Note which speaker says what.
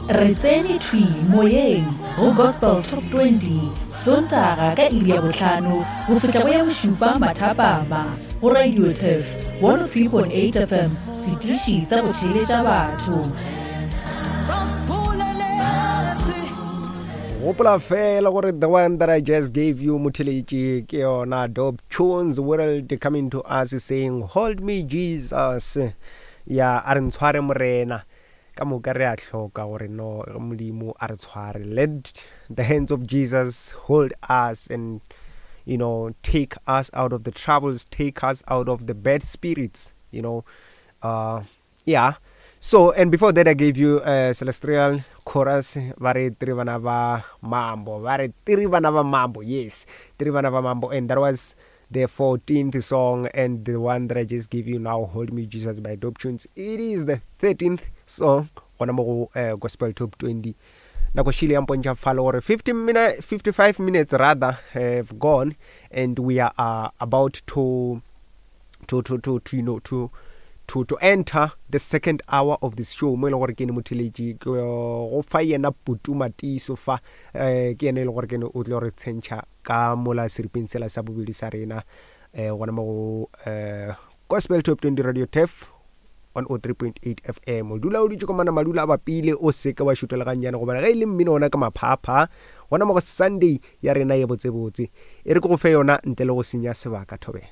Speaker 1: Re tsene thwi moyeng go Gospel Top 20 Sontaga ka iri ya bohlano go fihla go ya bošupa mathapama go Radio Turf 103.8 FM, setiši sa go theeletša batho.
Speaker 2: Gopola fela gore the one that I just gave you motheletši ke yona Dope Tunes World coming to us saying hold me Jesus ya a re ntshware morena Ka moka re a hloka gore no Modimo a re tshware. Let the hands of Jesus hold us and you know take us out of the troubles, take us out of the bad spirits, you know. Uh yeah. So and before that I gave you uh, Celestial Chorus ba re tiri bana ba mambo ba re tiri bana ba mambo yes tiri bana ba mambo and that was the 14th song and the one that I just gave you now, Hold Me Jesus by Dope Tunes. It is the 13th song gona mo go uh, Gospel Top 20. Nako šile ya mpontšha fale gore 50 minute, 55 minutes rather have gone and we are uh, about to to to to, to you know to to to enter the second hour of this show mo e leng gore ke ene motheletši go fa yena putuma tiiso fa um ke yena e leng gore ke ene o tlo re tshentšha ka mola seripeng sela sa bobedi sa rena um gona mo go um Gospel Top 20 Radio Turf 103.8 FM. O dula o dutše komana madula a bapile o seke wa šutela gannyane gobane ge e le mmino ona ke maphapha gona mo go Sunday ya rena ye botsebotse. E re ke go fe yona ntle le go senya sebaka thobela.